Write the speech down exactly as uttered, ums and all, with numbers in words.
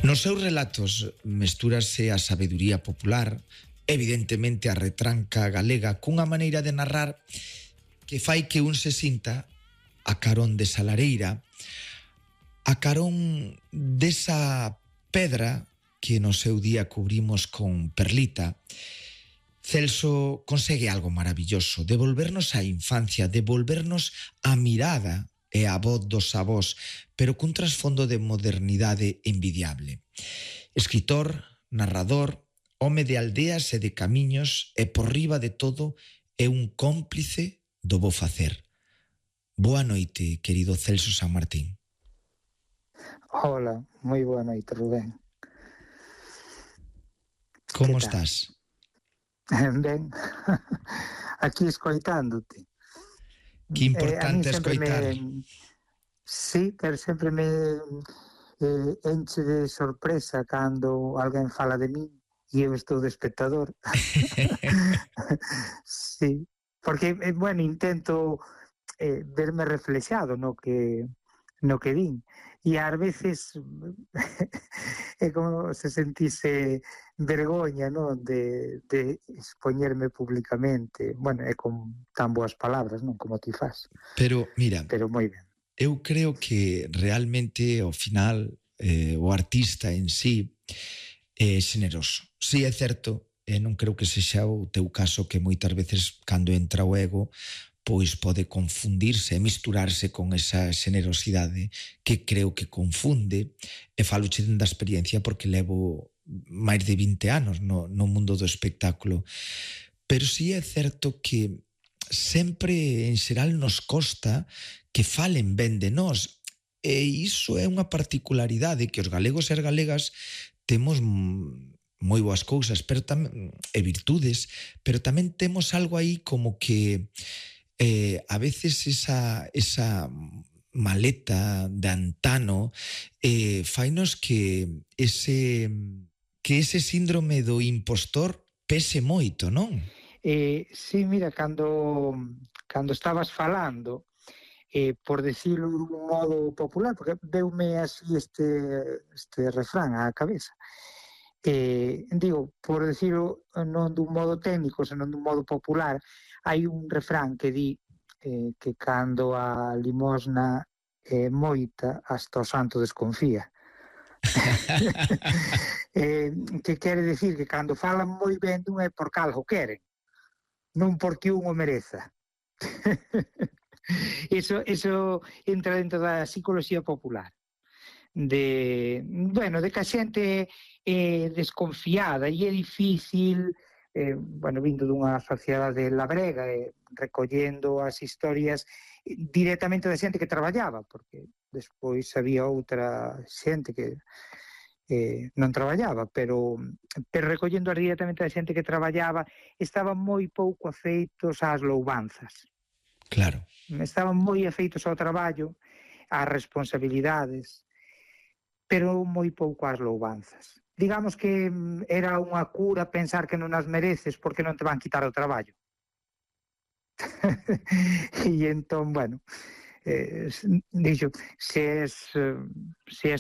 Nos seus relatos mestúrase a sabeduría popular, evidentemente a retranca galega, cunha maneira de narrar que fai que un se sinta a carón desa lareira, a carón desa pedra que no seu día cubrimos con perlita. Celso consegue algo maravilloso, devolvernos a infancia, devolvernos a mirada e a voz dos avós, pero cun trasfondo de modernidade envidiable. Escritor, narrador, home de aldeas e de camiños, e por riba de todo é un cómplice do bo facer. Boa noite, querido Celso Sanmartín. Hola, moi boa noite, Rubén. Como estás? Ben, aquí escoitándote. Que importante eh, escoitar. Me, sí, pero sempre me eh, enche de sorpresa cando alguén fala de min e eu estou de espectador. Sí, porque, eh, bueno, intento eh, verme reflexado no que no que din. E ás veces é como se sentise vergoña, non, de, de expoñerme públicamente. Bueno, é con tan boas palabras, non, como ti fas. Pero, mira, pero moi ben. Eu creo que realmente, ao final, eh, o artista en sí é xeneroso. Si é certo, e non creo que sexa o teu caso, que moitas veces, cando entra o ego, pois pode confundirse e misturarse con esa xenerosidade que creo que confunde, e faloche da experiencia porque levo máis de vinte anos no, no mundo do espectáculo. Pero si é certo que sempre, en xeral, nos costa que falen ben de nós. E iso é unha particularidade que os galegos e as galegas temos moi boas cousas, pero tamén, e virtudes, pero tamén temos algo aí como que eh, a veces esa, esa maleta de antano eh, fainos que ese, que ese síndrome do impostor pese moito, non? Eh, sí, mira, cando, cando estabas falando, eh, por decirlo dun modo popular, porque veume así este, este refrán á cabeza, eh, digo, por decirlo non dun modo técnico, senón dun modo popular, hai un refrán que di eh, que cando a limosna é moita, hasta o santo desconfía. eh, que quere decir que cando falan moi ben dun é porque algo queren, non porque un o mereza. Eso, eso entra dentro da psicología popular. De, bueno, de que a xente é desconfiada e é difícil, eh, bueno, vindo dunha sociedade labrega, eh, recollendo as historias directamente da xente que traballaba, porque despois había outra xente que eh, non traballaba, pero, pero recollendo directamente da xente que traballaba, estaban moi pouco afeitos ás louvanzas. Claro. Estaban moi afeitos ao traballo, ás responsabilidades, pero moi pouco ás louvanzas. Digamos que era unha cura pensar que non as mereces porque non te van quitar o traballo. E entón, bueno, eh, dixo, se és, se és